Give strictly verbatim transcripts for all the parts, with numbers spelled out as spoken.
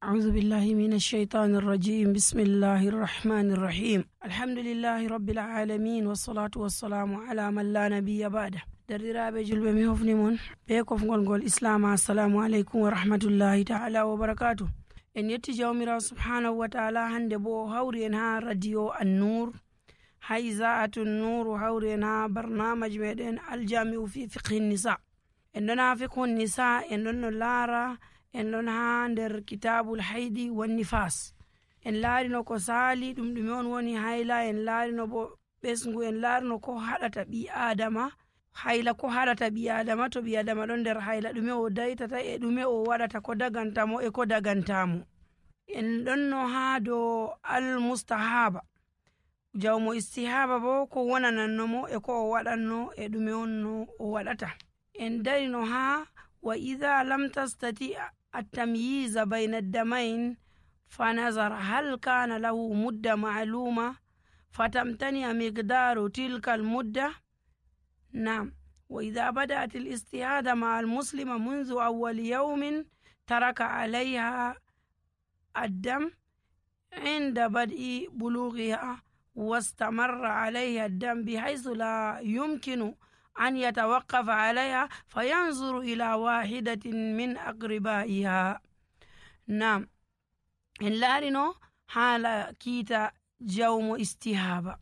أعوذ بالله من الشيطان الرجيم بسم الله الرحمن الرحيم الحمد لله رب العالمين والصلاة والسلام على من لا نبي بعده درdiraaɓe julɓe mi hofni mon be kofgol ngol islama assalamu aleykum wa rahmatullahi taala wa barakatuh. En yetti jawmirawo subhanahu wa taala hande bo o hawri en ha radio an-nur ha iza'atu an-nur o hawri en ha barnamaji meɗen aljami'u fi fiqhi nisa. En ɗon ha fiqhu nisa en ɗon no laara en ɗon ha nder kitabul haydi wan nifas. En laarino ko saali ɗum ɗume on woni hayla, en laarino bo ɓesngu, en laarino ko haɗata ɓi adama hayla, ko haɗata ɓi adama to ɓi adama ɗon nder hayla, ɗume o daytata e ɗume o waɗata, ko dagantamo e ko dagantamo. En ɗon no ha dow al mustahaba, jawmo istihaba bo ko wonanannomo e ko o waɗanno e ɗume on no o waɗata. En darino ha wa idha lam tastati التمييز بين الدمين فنظر هل كان له مدة معلومة فتمتنع مقدار تلك المدة. نعم. وإذا بدأت الاستهادة مع المسلمة منذ أول يوم ترك عليها الدم عند بدء بلوغها واستمر عليها الدم بحيث لا يمكن أن يتوقف عليها فينظر إلى واحدة من أقربائها. نعم. إن لارنو حالا كيتا جوم استهابة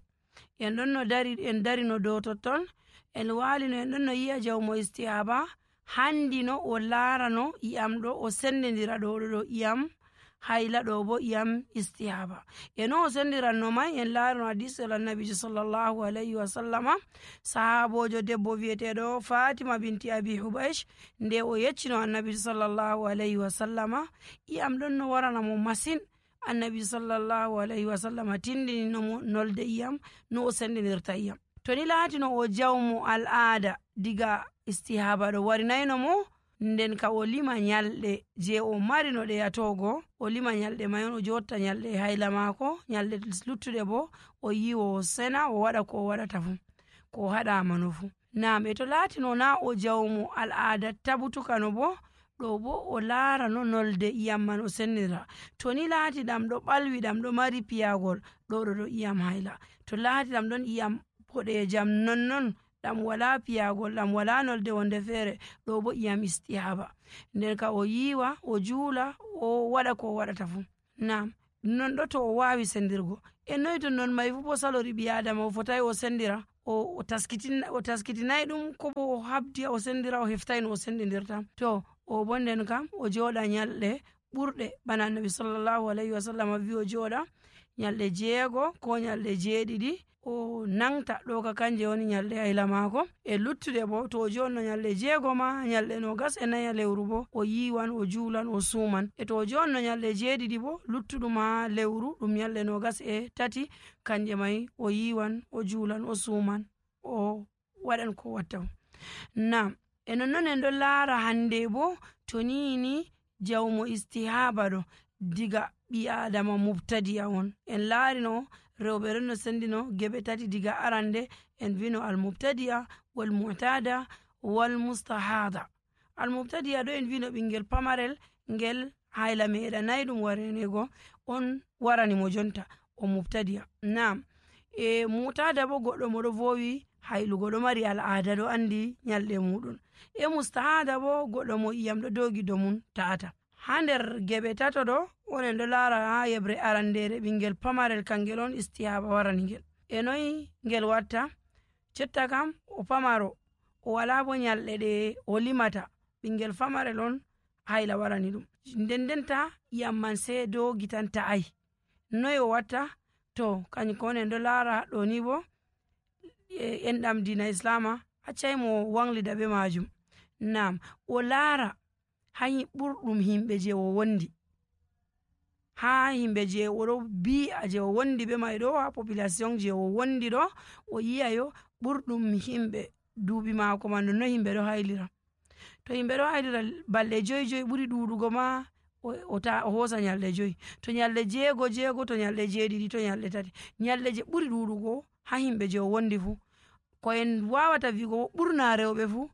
en ɗon no dari en darino dow totton en walino en ɗon no yi'a jawmo istihaba handino o laarano iyam ɗo o sendidira ɗo ɗo iyam hayla ɗo bo iyam istihaba. E no o sendiranno mai en laarino hadisel annabijo sallallahu alayhi wa sallama, sahabojo debbo wiyeteɗo fatima binti abi hubaysh nde o yeccino annabijo sallallahu alayhi wa sallama iyam ɗon no waranamo masin, annabijo sallallahu alayhi wa sallama tindininomo nolde iyam no o sendidirta iyam. To ni laatino o jawmo al'ada diga istihaba ɗo warinayno mo, nden ka o lima nyalɗe je o marino ɗe yatogo, o lima nyalɗe may on o jotta nyalɗe hayla mako, nyalɗe luttuɗe bo o yiwo o sena o waɗa ko o waɗata fu, ko haɗama no fu. Nam. E to laatino na o jawmo al'ada tabutukano bo, ɗo bo o laarano nolde iyam man o sendira. To ni laati ɗam ɗo ɓalwi, ɗam ɗo mari piyagol, ɗo ɗo ɗo iyam hayla. To laati ɗam ɗon iyam boɗejam nonnon, ɗam wala piyagol, ɗam wala nolde wonde feere, ɗo bo iyam istihaba. nden ka o yiwa o juula o waɗa ko o waɗata fu. Nam. Non ɗo to o wawi sendirgo. E noyi to non may fu bo salori ɓi adama o fotai o sendira, o taskitinayi ɗum ko bo o habdi o sendira o heftai no o sendidirta. To o bo nden kam o joɗa nyalɗe ɓurɗe bana annabi sallallahu alayhi wa sallam wi o joɗa nyalɗe jeego ko nyalɗe jeeɗiɗi o nangta ɗo ka kanje woni nyalɗe hayla mako. E luttuɗe bo to o jonno nyalɗe jeego ma nyalɗe nogas e naya lewru bo o yiwan o juulan o suman. E to o jonno nyalɗe jeeɗiɗi bo luttuɗum ha lewru ɗum nyalɗe nogas e tati, kanje mai o yiwan o juulan o suman o waɗan ko watta. Nam. E nonnon en ɗon laara hande bo to nini jawmo istihaba ɗo diga ɓi adama mubtadi'a on. En laarino rewɓe ɗon no sendino geɓe tati diga arande en vino almubtadi'a wal mu'tada wal mustahada. Almubtadi'a ɗo en vino ɓingel pamarel ngel hayla meɗanayi ɗum warenego on warani mo jonta o mubtadi'a. Nam. E mu'tada bo goɗɗo mo ɗo vowi haylugo, ɗo mari al'ada, ɗo andi nyalɗe muɗum. E mustahada bo goɗɗo mo iyam ɗo dogi do mum ta'ata. Ha nder geɓe tato ɗo onen ɗo laara ha yebre arandere ɓingel pamarel kangel on istihaba warani ngel. E noyi ngel watta? Jotta kam o pamaro o wala bo nyalɗe ɗe o limata, ɓingel pamarel on hayla warani ɗum, nden denta iyam man sai dogi tan ta'ai. Noyi o watta? To kanjum ko onen ɗo laara ɗo ni bo en ɗam dina islama accai mo wanglida be majum. Nam. O laara ha ɓurɗum himɓe je o wondi, ha himɓe je oɗo bi'a je o wondi be mai ɗo, ha population je o wondi ɗo o yi'a yo ɓurɗum himɓe duuɓi mako man no himɓe ɗo haylira. To himɓe ɗo haylira balɗe joyi joyi ɓuri ɗuɗugo ma o hosa nyalɗe joyi, to nyalɗe jeego jeego, to nyalɗe jeeɗiɗi, to nyalɗe tati, nyalɗe je ɓuri ɗuɗugo ha himɓe je o wondi fu. Ko en wawata wigo ɓurna rewɓe fu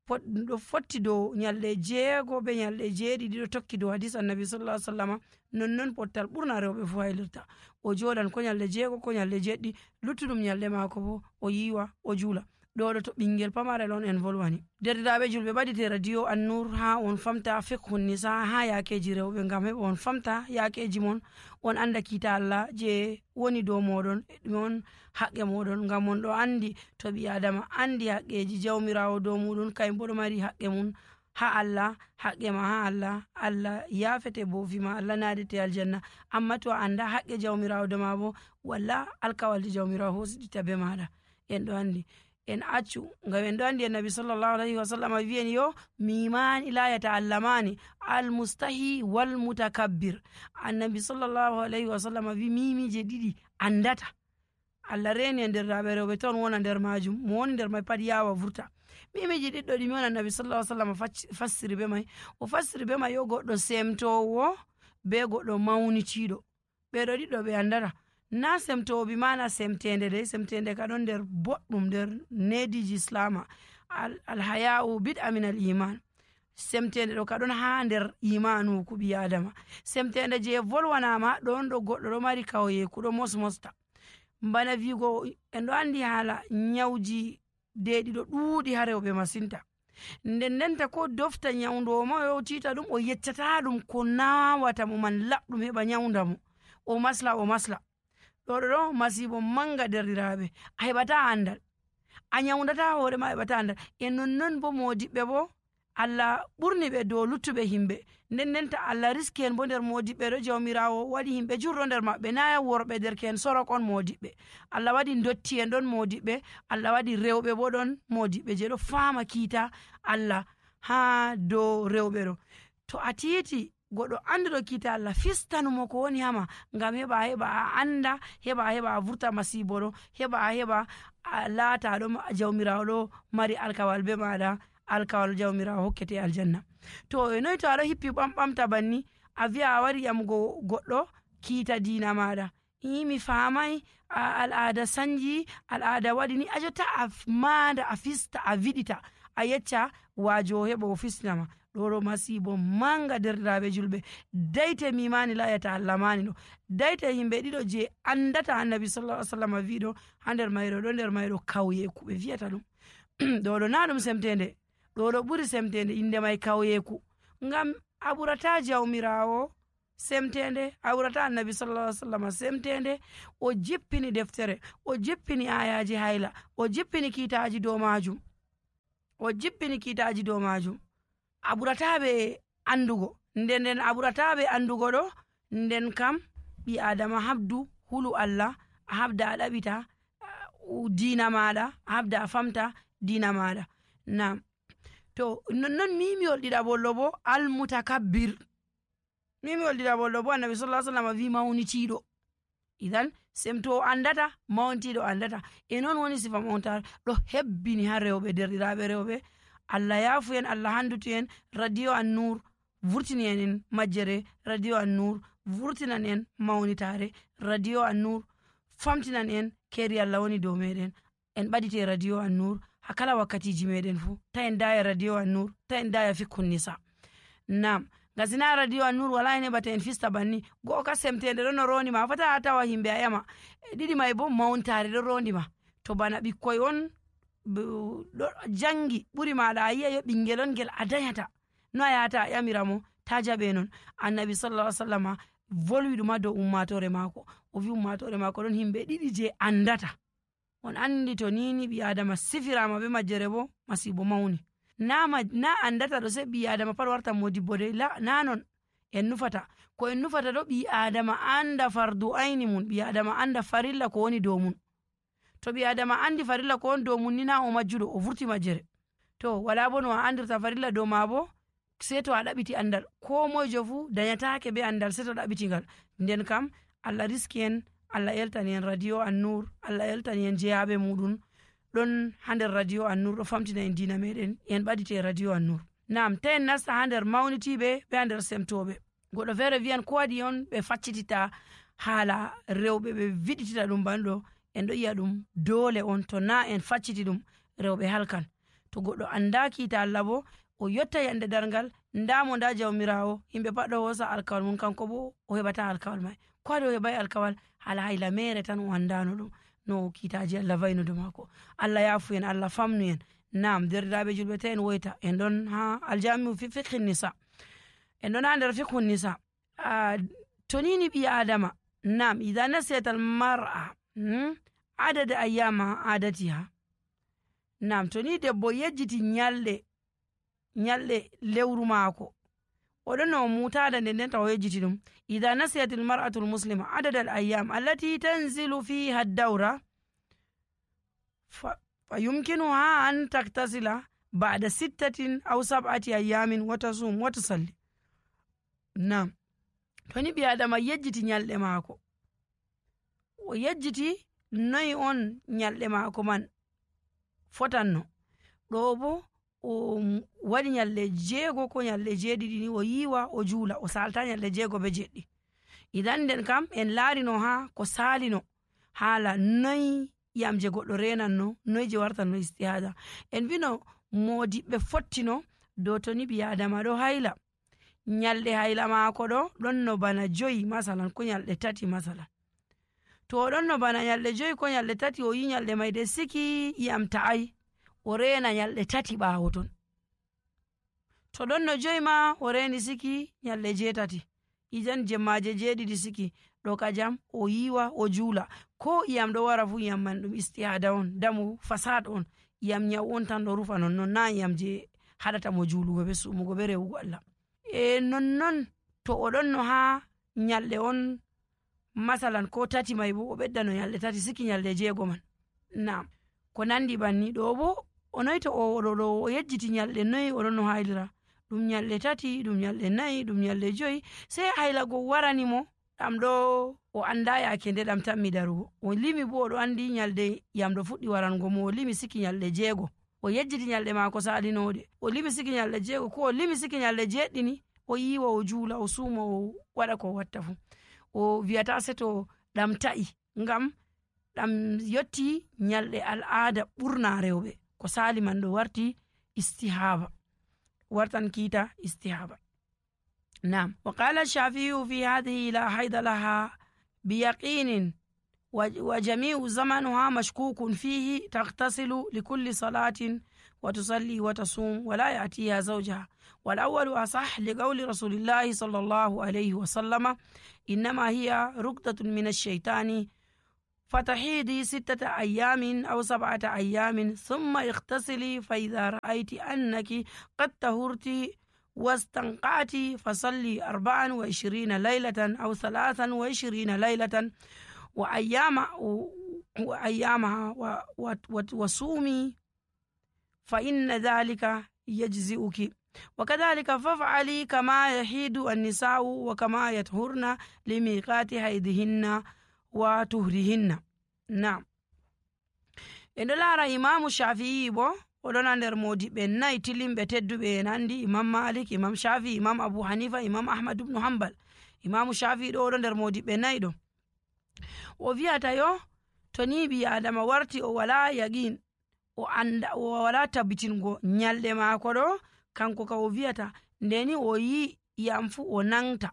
ɗum ɗo fotti dow nyalɗe jeego be nyalɗe jeeɗiɗi ɗo tokki dow hadis annabi sallallahu alaihi wasallam nonnon pottal ɓurna rewɓe fu haylirta o joɗan ko nyalɗe jeego ko nyalɗe jeɗɗi luttuɗum nyalɗe maako bo o yiwa o juula ɗo ɗo to ɓingel pamarel on en volwani. Derɗiraɓe julɓe ɓaɗite radio An-Nur ha on famta fiqhun nisa ha yakeji rewɓe ngam heɓa on famta yakeji mon on anda kiita Allah je woni dow moɗon ɗume on haqqe moɗon ngam on ɗo andi to ɓi adama andi haqqeji jawmirawo dow muɗum kayum bo ɗo mari haqqe mum ha Allah haqqe ma ha Allah Allah yafete bo fima Allah nadete aljanna amma to a anda haqqe jawmirawo dow ma bo walla alkawalde jawmirawo hosiɗita be maɗa en ɗo andi en accu ngam en ɗo andi annabi sallallahu alaihi wasallam wi'en yo mimani la yata'allamani almustahi wal mutakabbir. Annabi sallallahu alaihi wasallam wi mimije ɗiɗi andata Allah reni e nder raɓe rewɓe ton wona nder majum mo woni nder mai pat yawa vurta. Mimiji ɗiɗɗo ɗimi on annabi sallallahu alaihi wasallam fassiri be mai o fassiri be mai yo goɗɗo semtowo be goɗɗo mawnitiɗo ɓeɗo ɗiɗɗo ɓe andata na semtowo bi mana semtende de semtende ka ɗon nder boɗɗum nder nediji islama alhaya'u bid'a min al iman semtende ɗo ka ɗon ha nder imanu ku ɓi adama semtende je volwanama ɗon ɗo goɗɗo ɗo mari kawyeku ɗo mosmosta bana vigo en ɗo andi haala nyawji deɗi ɗo ɗuuɗi ha rewɓe masinta nden ndenta ko dofta nyawdowo ma o tita ɗum o yeccata ɗum ko nawata mo man laɓɗum heɓa nyawda mo o masla o masla ɗo ɗo masibo manga derɗiraɓe a heɓata andal a nyawdata hoore ma heɓata andal e nonnon bo modiɓɓe bo Allah ɓurni ɓe dow luttuɓe himɓe nden ndenta Allah riski en bo nder modiɓɓe ɗo jawmirawo waɗi himɓe jurɗo nder maɓɓe na worɓe derken sorok on modiɓɓe Allah waɗi dotti en ɗon modiɓɓe Allah waɗi rewɓe bo ɗon modiɓɓe je ɗo fama kiita Allah ha dow rewɓe ɗo to a titi goɗɗo anduɗo kiita Allah fistanumo ko woni hama ngam heɓa heɓa a anda heɓa heɓa a vurta masibo ɗo heɓa heɓa a laata ɗo jawmirawo ɗo mari alkawal be maɗa alkawal jawmirawo hokkete aljanna. To e noyi to aɗo hippi ɓamɓamta banni a wiya a wari yamugo goɗɗo kiita dina maɗa imi famai al'ada sanji al'ada waɗi ni a jotta a manda a fista a viɗita a yecca wajo heɓa o fistinama ɗo ɗo masibo manga derɗiraɓe julɓe dayte mimani la yata'allamani ɗo dayte yimɓe ɗiɗo je andata annabi sallallahu alaihi wasallam wiɗo ha nder mayro ɗo nder mayro kawyeku ɓe wiyata ɗum ɗo ɗo na ɗum semtende ɗo ɗo ɓuri semtende inde mai kawyeku ngam a ɓurata jawmirawo semtende a ɓurata annabi sallallahu alaihi wasallam semtende o jippini deftere o jippini ayaji hayla o jippini kiitaji dow majum o jippini kiitaji dow majum a ɓurataɓe andugo nden nden a ɓurataɓe andugo ɗo nden kam ɓi adama habdu hulu Allah a habda a ɗaɓita dina maɗa a habda a famta dina maɗa. Nam to nonnon mimiwol ɗiɗaɓollo bo almutakabbir mimiwol ɗiɗaɓollo bo annabi sallallahu alaihi wasallam wi mawnitiɗo idan semto andata mawntiɗo andata e non woni sifa mawntar ɗo hebbini ha rewɓe derɗiraɓe rewɓe Allah yafu en Allah handutu en radio An-Nur vurtini en majjere radio An-Nur vurtinan en mawnitare radio An-Nur famtinan en keri Allah woni dow meɗen en ɓaɗite radio An-Nur ha kala wakkatiji meɗen fu ta en daya radio An-Nur ta en daya fiqhun nisa. Nam gasina radio An-Nur wala en heɓata en fista banni go'o ka semtende ɗo no rondima fata a tawa himɓe a yama ɗiɗi mai bo mawntare ɗo rondima to bana ɓikkoy on ɗo jangi ɓuri maɗa a yi'a yo ɓingel on ngel a dayata no a yata a yamiramo ta jaɓe non annabi sallallahu alaihi wasallam volwi ɗum ha dow ummatore mako o wi ummatore mako ɗon himɓe ɗiɗi je andata on andi to nini ɓi adama sifirama be majjere bo masibo mawni na, na andata ɗo se ɓi adama pat warta modibbo de la na non en nufata ko en nufata ɗo ɓi adama anda fardu ayni mun ɓi adama anda farilla ko woni dow mun to ɓi adama andi farilla ko woni dow mun ni na o majjuɗo o vurti majjere to wala bo no a andirta farilla dow ma bo se to a ɗaɓiti andal ko moijo fu dañatake be andal se to ɗaɓitigal nden kam Allah riski en Allah yeltani en radio An-Nur Allah yeltani en jeyaɓe muɗum ɗon ha nder radio An-Nur ɗo famtina en dina meɗen en ɓaɗite radio An-Nur. Nam ta en nasta ha nder mawnitiɓe be ha nder semtoɓe goɗɗo feere wiyan ko waɗi on ɓe faccitita haala rewɓe ɓe viɗitita ɗum banɗo en ɗo yi'a ɗum dole on to na en facciti ɗum rewɓe halkan to goɗɗo anda kiita Allah bo o yotta yande darngal ndamo nda jawmirawo yimɓe pat ɗo hosa alkawal mum kanko bo o heɓata alkawal mai ko ade o heɓai alkawal hala hayla mere tan o andano ɗum no kiitaji Allah vayno do mako. Allah yafu en, Allah famnu en. Nam derɗiraɓe julɓe ta en woyta en ɗon ha aljamiu fi fiqhi nisa, en ɗon ha nder fiqhu nisa. uh, tonini ɓi adama nam ida nasiyat al mar'a hmm? adada ayyama adatiha. nam toni debbo yejjiti nyalɗe nyalɗe lewru maako oɗon no mutada nden nden taw yejjiti ɗum. ida nasiyat al mar'atu al muslima adada al ayyam allati tanzilu fiha ad-dawra fa yumkinuha an taktasila ba'da sittatin aw sab'ati ayyamin wa tasum wa tusalli. nam toni ɓi adama yejjiti nyalɗe maako, o yejjiti noyi on nyalɗe maako man fotanno, ɗo bo o waɗi nyalɗe jeego ko nyalɗe jeeɗiɗi ni o yiwa o juula o salta nyalɗe jeego be jeɗɗi. idan nden kam en laarino ha ko salino haala noyi yam je goɗɗo renanno, noyi je wartanno istihada. en mbino modiɓɓe fottino dow toni ɓi adama ɗo hayla, nyalɗe hayla maako ɗo ɗon no bana joyi masalan ko nyalɗe tati masalan. to oɗon no bana nyalɗe joyi ko nyalɗe tati o yi nyalɗe mai de siki yam ta'ai o rena nyalɗe tati ɓaawo ton. to ɗon no joyi ma o reni siki nyalɗe jeetati, ijan jemmaje jeeɗiɗi siki ɗo kajam o yiwa o juula. ko iyam ɗo wara fu iyam man ɗum istihada on, damu fasad on, iyam nyau on tan ɗo rufa nonnon, na iyam je haɗata mo juulugo be sumugo be rewugo Allah. e nonnon to oɗon no ha nyalɗe on masalan ko tati mai bo o ɓedda no nyalɗe tati siki nyalɗe jeego man. nam ko nandi banni ɗo bo o noyi to oɗo o yejjiti nyalɗe noyi oɗon no haylira, ɗum nyalɗe tati, ɗum nyalɗe nayi, ɗum nyalɗe joyi, sei haylago waranimo ɗam ɗo o anda yake nde ɗam tammi darugo. o limi bo oɗo andi nyalɗe yam ɗo fuɗɗi warango mo, o limi siki nyalɗe jeego, o yejjiti nyalɗe maako salinoɗe, o limi siki nyalɗe jeego ko o limi siki nyalɗe jeɗɗini, o yiwa o juula o suuma o waɗa ko watta fu. o wiyata seto ɗam ta'i ngam ɗam yotti nyalɗe al'ada ɓurna rewɓe, ko sali man ɗo warti istihaba, wartan kiita istihaba. nam wa qala shafi'u fi hadhihi la hayda laha biyaqinin wa jami'u zamanuha mashkukun fihi taghtasilu likulli salatin wa tusalli wa tasum wa la ya'tiha zawjaha. wal awwalu asah li qawli rasulillahi sallallahu alayhi wa sallama innama hiya rukdatun min ash-shaytani فتحيدي ستة أيام أو سبعة أيام ثم اغتسلي فإذا رأيت أنك قد طهرت واستنقعت فصلي أربعا وعشرين ليلة أو ثلاثا وعشرين ليلة وأيام وأيامها وصومي فإن ذلك يجزئك. وكذلك فافعلي كما يحيد النساء وكما يطهرن لميقات حيضهن wa tuhrihinna. nam en ɗo laara imamu shafi'i bo oɗon ha nder modiɓɓe nayi tilimɓe tedduɓe en andi imam malik, imam shafi'i, imam abu hanifa, imam ahmad ibnu hambal. imamu shafi'i ɗo oɗo nder modiɓɓe nayi ɗo. o wiyata yo to ni ɓi adama warti o wala yaqin, o anda o wala tabbitingo nyalɗe maako ɗo, kanko ka o wiyata ndeni o yi yam fu o nangta,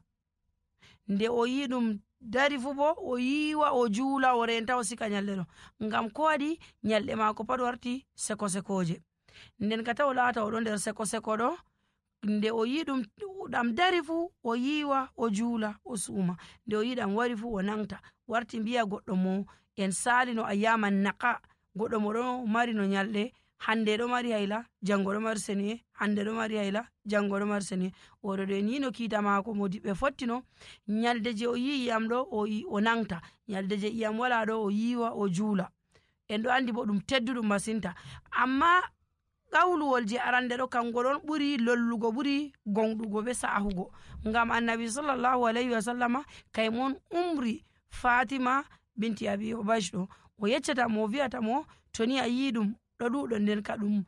nde o yi ɗum dari fu bo o yiwa o juula o renta o sika nyalɗe ɗo, ngam ko waɗi nyalɗe maako pat warti seko sekoje. nden ka taw laata oɗo nder seko seko ɗo, nde o yi ɗum ɗam dari fu o yiwa o juula o suuma, nde o yi ɗam wari fu o nangta. warti mbiya goɗɗo mo en salino ayyaman naqa, goɗɗo mo ɗo mari no nyalɗe hande ɗo mari hayla, jango ɗo mari seniye, hande ɗo mari hayla, jango ɗo mari seniye. oɗo ɗo en yino kiita maako modiɓɓe fottino nyalde je o yi iyam ɗo o, o nangta, nyalde je iyam wala ɗo o yiwa o juula. en ɗo andi bo ɗum tedduɗum masinta, amma qawluwol je arande ɗo kango ɗon ɓuri lollugo, ɓuri gonɗugo be sahugo, ngam annabi sallallahu alayhi wa sallama kaymon umri fatima binti abi hubaysh ɗo, o yeccata mo, wiyata mo toni a yi ɗum ɗo ɗuɗo nden ka ɗum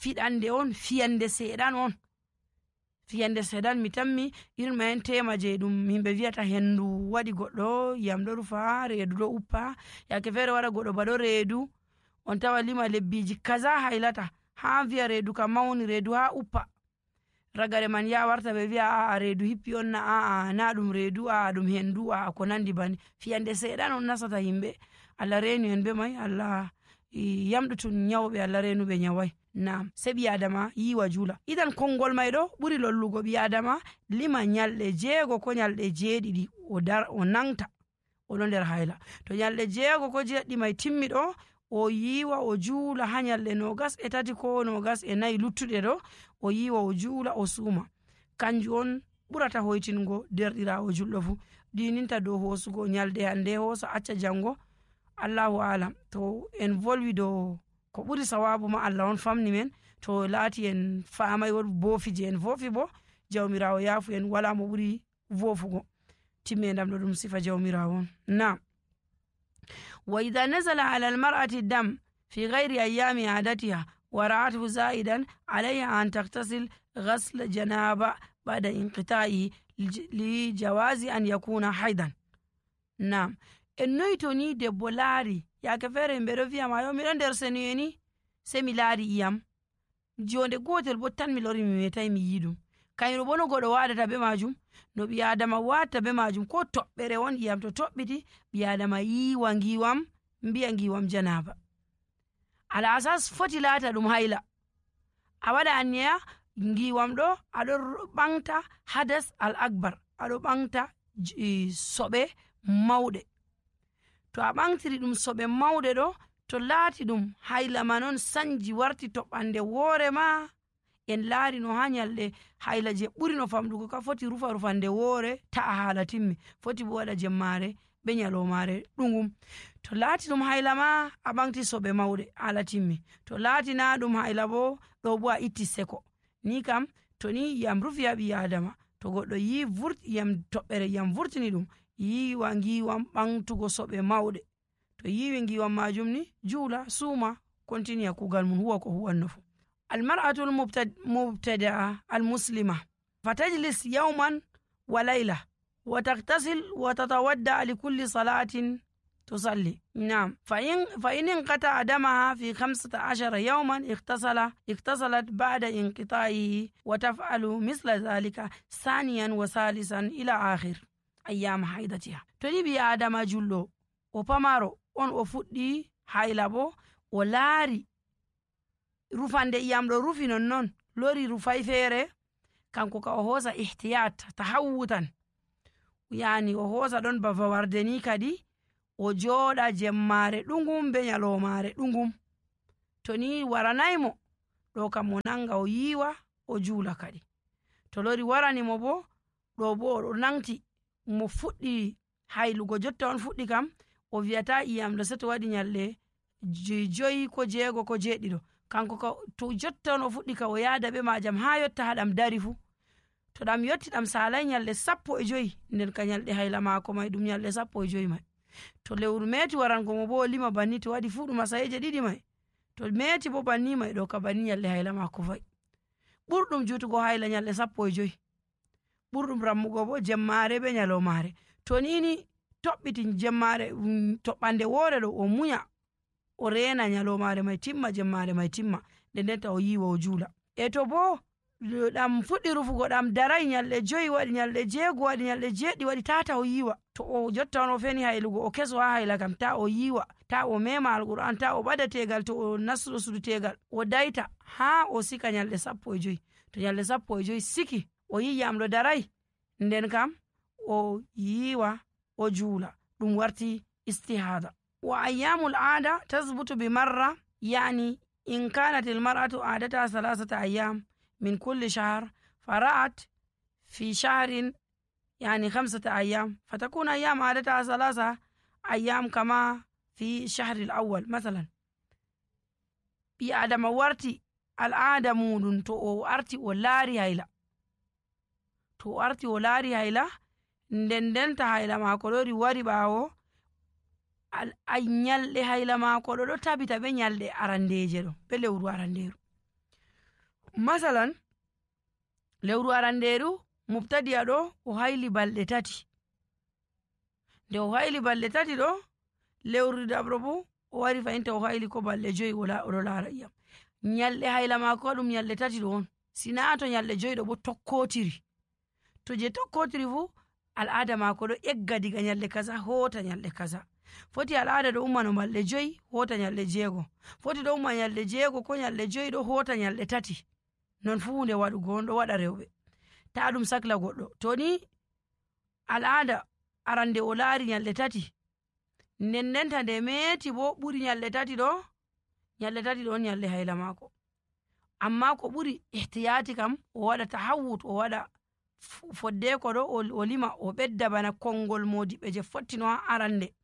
fiɗande on, fiyande seeɗan on, fiyande seeɗan. mi tammi irin ma en tema je ɗum yimɓe wiyata hendu waɗi goɗɗo, yam ɗo rufa, reedu ɗo uppa, yake feere wara goɗɗo ba ɗo reedu, on tawa lima lebbiji kaza haylata, ha wi'a reedu kam mawni, reedu ha uppa, ragare man ya warta ɓe wi'a a'a reedu hippi on, na a'a na ɗum reedu, a'a ɗum hendu, a'a ko nandi bani. Fiyande seeɗan on nasata yimɓe. Allah reenu en be mai, Allah yamɗutun nyawɓe, Allah reenuɓe nyawai. Nam, se ɓi adama yiwa juula. Idan konngol mai ɗo ɓuri lollugo ɓi adama lima nyalɗe jeego ko nyalɗe jeeɗiɗi o dar o nangta oɗo nder hayla. To nyalɗe jeego ko jeeɗiɗi mai timmi ɗo, o yiwa o juula ha nyalɗe nogas e tati ko nogas e nayi luttuɗe ɗo, o yiwa o juula o suuma. Kanjum on ɓurata hoytingo derɗirawo julɗo fu. Ɗininta dow hosugo nyalɗe hande hosa acca jango, Allahu alam. To en volwi dow ko ɓuri sawabu ma Allah on famni men, to laati en famai won boofi je en vofi bo jawmirawo yaafu en, wala mo ɓuri vofugo. Timmendam ɗo ɗum sifa jawmirawo on. Na wa idha nazala ala almar'ati dam fi ghairi ayami adatiha wa ra'atuhu zaidan alayha an taktasil ghasl janaba ba'da inqita'i li jawazi an yakuna haidan. Nam, en noyi to ni debbo laari yake feere himɓe ɗo wi'a ma yo miɗo nder senuye ni, se mi laari iyam jonde gotel bo tan mi lori mi metai mi yi ɗum. Kayru bo no goɗo waɗata be majum, no ɓi adama watta be majum, ko toɓɓere won iyam to toɓɓiti ɓi adama yiwa ngiwam, mbiya ngiwam janaba. Ala asas foti laata ɗum hayla. A waɗa anniya ngiwam ɗo aɗo ɓangta hadas al akbar, aɗo ɓangta soɓe mawɗe. To a ɓangtiri ɗum soɓe mawɗe ɗo, to laati ɗum hayla ma non sanji warti toɓɓande woore ma, en laari no ha nyalɗe hayla je ɓuri no famɗugo ka foti rufa rufande woore ta'a haala timmi, foti bo waɗa jemmare be nyalomare ɗungum. To laati ɗum hayla ma a ɓangti soɓe mawɗe haala timmi, to laati na ɗum hayla bo ɗo bo a itti seko. Ni kam to ni yam rufi ha ɓi adama, to goɗɗo yi vurti yam toɓɓere yam vurtini ɗum, yiwa ngiwam ɓangtugo soɓe mawɗe. To yiwi ngiwam majum ni juula suuma continue kugal mun huwa ko huwanno fu. Almar'atu almubtada'a almuslima fatajlis yawman wa layla wa taghtasil wa tatawadda li kulli salatin tusalli. Naam, fa in fa in inqata damaha fi khamsata ashara yawman ightasala ightasalat ba'da inqita'ihi wa taf'alu misla dhalika saniyan wa salisan ila akhir ayyam haidatiha. To ni ɓi adama julɗo o pamaro on o fuɗɗi hayla bo o laari rufande iyam ɗo rufi non non lori rufai feere, kanko ka o hosa ihtiyat tahawutan, yani o hosa ɗon ba fawarde ni kadi o jooɗa jemmare ɗungum be nyalomare ɗungum. To ni waranaymo ɗo kam o nanga o yiwa o juula kadi. To lori waranimo bo ɗo bo o nangti mo fuɗɗi haylugo jotta on fuɗɗi kam o wiyata iyam ɗo seto waɗi nyalɗe joyi ko jeego ko jeeɗiɗo, kanko ka to jotta on o fuɗɗi ka o yaada be majam ha yotta haɗam dari fu. To ɗam yotti ɗam salai nyalɗe sappo e joyi, nden ka nyalɗe hayla maako mai ɗum nyalɗe sappo e joyi mai. To lewru meti warango mo bo o lima banni, to waɗi fu ɗum masayeje ɗiɗi mai, to meti bo banni mai ɗo ka banni nyalɗe hayla maako fai. Ɓurɗum jutugo hayla nyalɗe sappo e joyi, ɓurɗum rammugo bo jemmare be nyalomare. To nini toɓɓiti jemmare toɓɓande woore ɗo o munya o reena nyalomare mai timma, jemmare mai timma, nden nden ta o yiwa o juula. E to bo ɗam fuɗɗi rufugo ɗam darai nyalɗe joyi waɗi, nyalɗe jeego waɗi, nyalɗe jeeɗi waɗi, tata o yiwa. To o jotta on o feni haylugo o keso ha hayla kam ta o yiwa, ta o mema alquran, ta o ɓada tegal, to o nastuɗo sudu tegal o daita ha o sika nyalɗe sappo e joyi. To nyalɗe sappo e joyi siki o yi yamɗo darai, nden kam o yiwa o juula, ɗum warti istihada. Wa ayyamul aada tasbutu bi marra, yani in kanat al mar'atu aadataha thalathata ayyam min kulli shahr fara'at fi shahrin yani khamsata ayyam fatakun ayyam aadataha thalatha ayyam kama fi shahril awwal. Masalan, ɓi adama warti al'aada muɗum to o arti o laari hayla, to o arti o laari hayla, nden ndenta hayla maako lori wari ɓaawo a nyalɗe hayla maako ɗo ɗo tabita be nyalɗe arandeje ɗo be lewru aranderu. Masalan, lewru aranderu mubtadi'a ɗo o hayli balɗe tati, nde o hayli balɗe tati ɗo lewru dabro bo o wari fayinta o hayli ko balɗe joyi oɗo laara iyam. nyalɗe hayla maako ɗum nyalɗe tati ɗo on, sina to nyalɗe joyi ɗo bo tokkotiri. To je tokkotiri fu al'ada maako ɗo egga diga nyalɗe kaza hota nyalɗe kaza. Foti al'ada ɗo umma no balɗe joyi hota nyalɗe jeego, foti ɗo umma nyalɗe jeego ko nyalɗe joyi ɗo hota nyalɗe tati. Non fu hunde waɗugo on ɗo waɗa rewɓe, ta ɗum sakla goɗɗo. To ni al'ada arande o laari nyalɗe tati, nden ndenta nde meeti bo ɓuri nyalɗe tati ɗo, nyalɗe tati ɗo on nyalɗe hayla maako. Amma ko ɓuri ihtiyati kam o waɗa tahawut, o waɗa foddeko ɗo o lima o ɓedda bana konngol modiɓɓe je fottino ha arande.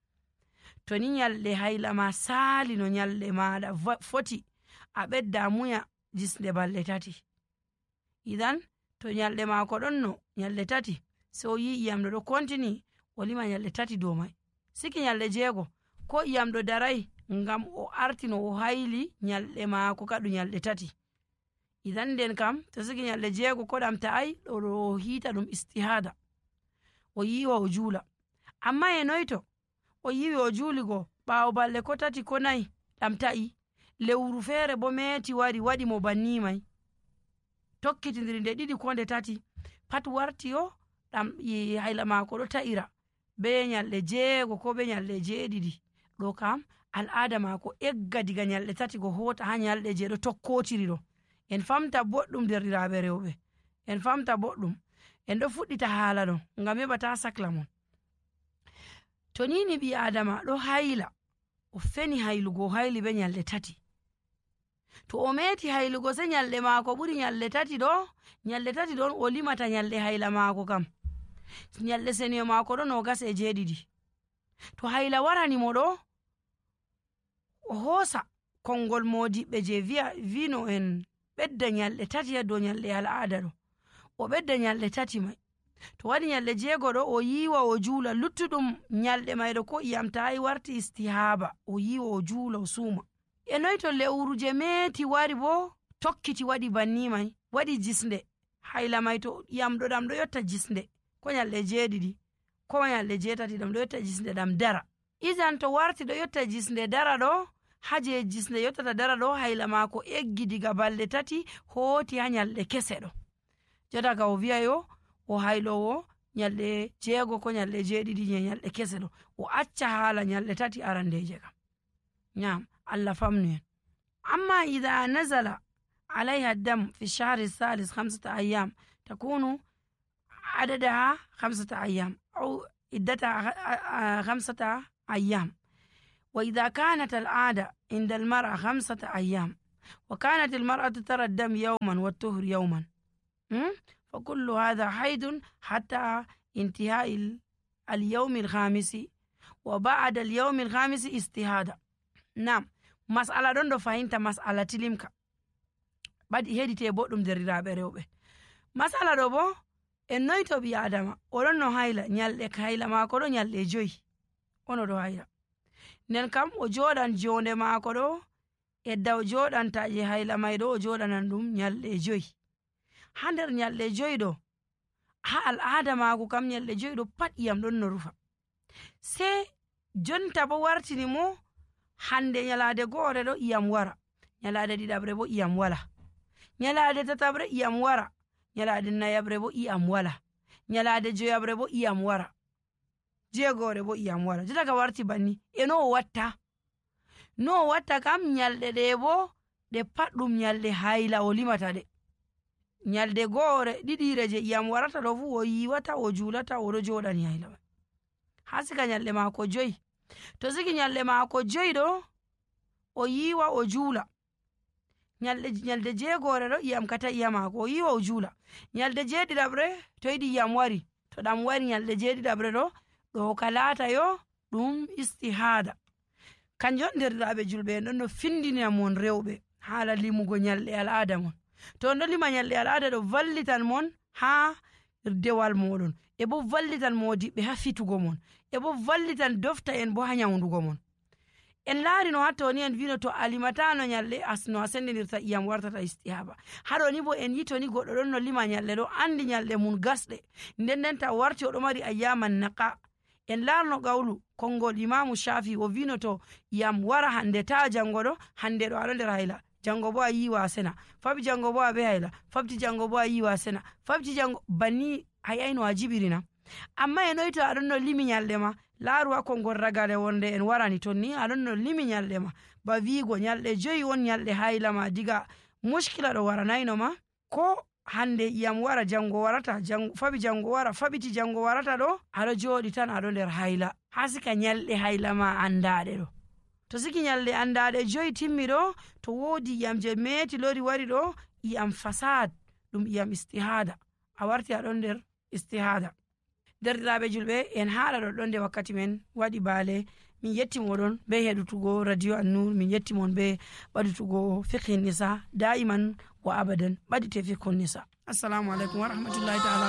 To ni nyalɗe hayla ma saali no nyalɗe maɗa foti, a ɓedda muya jisnde balɗe tati. Idan to nyalɗe maako ɗon no nyalɗe tati, sai o yi iyamɗo ɗo kontini, o lima nyalɗe tati dow mai. Siki nyalɗe jeego ko iyamɗo darai ngam o artino o hayli nyalɗe maako kaɗu nyalɗe tati. Idan nden kam to siki nyalɗe jeego ko ɗam ta'ai ɗo ɗo hiita ɗum istihada, o yiwa o juula. Amma e noyto o yiwi o juuli go ɓaawo balɗe ko tati ko nayi ɗam ta'i, lewru feere bo meeti wari waɗi mo banni mai, tokkitindiri nde ɗiɗi ko nde tati, pat warti yo ɗam hayla maako ɗo ta'ira be nyalɗe jeego ko be nyalɗe jeeɗiɗi. Ɗo kam al'ada maako egga diga nyalɗe tati go hota ha nyalɗe je ɗo tokkotiri ɗo. En famta boɗɗum derɗiraaɓe rewɓe, en famta boɗɗum, en ɗo fuɗɗita haala ɗo ngam heɓa ta sakla mon. To ni ni ɓi adama ɗo hayla, o feni haylugo o hayli be nyalɗe tati, to o meeti haylugo se nyalɗe maako ɓuri nyalɗe tati ɗo, nyalɗe tati ɗon o limata nyalɗe hayla maako kam, nyalɗe seniyo maako ɗo nogas e jeeɗiɗi. To hayla warani mo ɗo, o hoosa konngol modiɓɓe je viya vino en ɓedda nyalɗe tati ha dow nyalɗe al'ada ɗo, o ɓedda nyalɗe tati mai. To waɗi nyalɗe jeego ɗo o yiwa o juula, luttuɗum nyalɗe mai ɗo ko iyam ta'i warti istihaba, o yiwa o juula o suuma. E noy to lewru je meeti wari bo tokkiti waɗi banni mai, waɗi jisnde hayla mai, to iyam ɗo ɗam ɗo yotta jisnde ko nyalɗe jeeɗiɗi ko nyalɗe jeetati ɗam ɗo yotta jisnde ɗam dara. Idan to warti ɗo yotta jisnde dara ɗo, haje jisnde yottata dara ɗo hayla maako eggi diga balɗe tati hooti ha nyalɗe kese ɗo. Jotta ka o wiya yo o haylowo nyalɗe jeego ko nyalɗe jeeɗiɗi je nyalɗe kese ɗo, o acca haala nyalɗe tati arandeje kam. Nyam Allah famnu en. Amma idha nazala عليها الدم في الشهر الثالث خمسة أيام تكون عددها خمسة أيام أو عدتها خمسة أيام. وإذا كانت العادة عند المرأة خمسة أيام وكانت المرأة ترى الدم يوما والطهر يوما، فكل هذا حيض حتى انتهاء اليوم الخامس، وبعد اليوم الخامس استهادة. نعم، مسألة دون دو فهمت مسألة تلمك baɗi heɗite boɗɗum derriraɓe rewɓe. Masala ɗo bo en noy to ɓi adama oɗon no hayla, nyalɗe hayla maako ɗo nyalɗe joyi ono ɗo hayla, nden kam o joɗan jonde maako ɗo edda o joɗanta je hayla may ɗo o joɗanan ɗum nyalɗe joyi. Ha nder nyalɗe joyi ɗo, ha al'ada maako kam nyalɗe joyi ɗo pat iyam ɗon no rufa. Se jonta bo wartini mo hande nyalade go'ore ɗo iyam wara, nyalade ɗiɗaɓre bo iyam wala, nyalade tatabre iyam wara, nyalade nayabre bo iyam wala, nyalade joyabre bo iyam wara, jeegore bo iyam wara. Jotta ka warti banni, e no o watta no o watta kam nyalɗe ɗe bo ɗe pat ɗum nyalɗe hayla o limata ɗe. Nyalde go'ore ɗiɗire je iyam warata ɗo fu o yiwata o julata oɗo joɗani hayla mai ha sika nyalɗe maako joyi. To siki nyalɗe maako joyi ɗo o yiwa o juula, nyalde nyalde jeegore ɗo iyam kata iya maako o yiwa o juula. Nyalde jeeɗiɗaɓre to yiɗi iyam wari, to ɗam wari nyalde jeeɗiɗaɓre ɗo ɗo ka laata yo ɗum istihada. Kanjum derɗiraɓe julɓe en ɗon no findina mon rewɓe haala limugo nyalɗe al'ada mon. To on ɗo lima nyalɗe al'ada ɗo vallitan mon ha dewal moɗon, e bo vallitan modiɓɓe ha fitugo mon, e bo vallitan dofta en bo ha nyawdugo mon. En laari no hatto ni en vino to alimatano nyalɗe asno a sendinirta iyam wartata istihaba. Haɗo ni bo en yito ni goɗɗo ɗon no lima nyalɗe ɗo andi nyalɗe mun gasɗe, nden nden ta warti oɗo mari ayyaman naqa. En laarno gawlu konngol imamu Shafi o vino to iyam wara hande ta jango ɗo, hande ɗo aɗo nder hayla, jango bo a yiwa sena, faɓi jango bo a ɓe hayla, fabti jango bo a yiwa sena, fabti jango banni hayayno a jibirina. amma e noyi to aɗon no limi nyalɗe ma, laaru ha konngol ragare wonde en warani ton ni aɗon no limi nyalɗe ma, ba wigo nyalɗe joyi on nyalɗe hayla ma, diga muskila ɗo waranayno ma, ko hande iyam wara jango warata, jango faɓi jango wara, faɓiti jango warata ɗo, aɗo joɗi tan aɗo nder hayla, ha sika nyalɗe hayla ma andaɗe ɗo. To siki nyalɗe andaɗe joyi timmi ɗo, to wodi iyam je meti lori wari ɗo, iyam fasad ɗum iyam istihada, a warti aɗon nder istihada. Derɗiraɓe julɓe, en haɗa ɗoɗɗon nde wakkati men waɗi baale. Min yetti moɗon be heɗutugo radio An-Nur, min yetti mon be ɓaɗutugo fiqhin nisa da'iman wa abadan, ɓaɗite fiqhun nisa. Assalamu alaikum wa rahmatullahi ta'ala.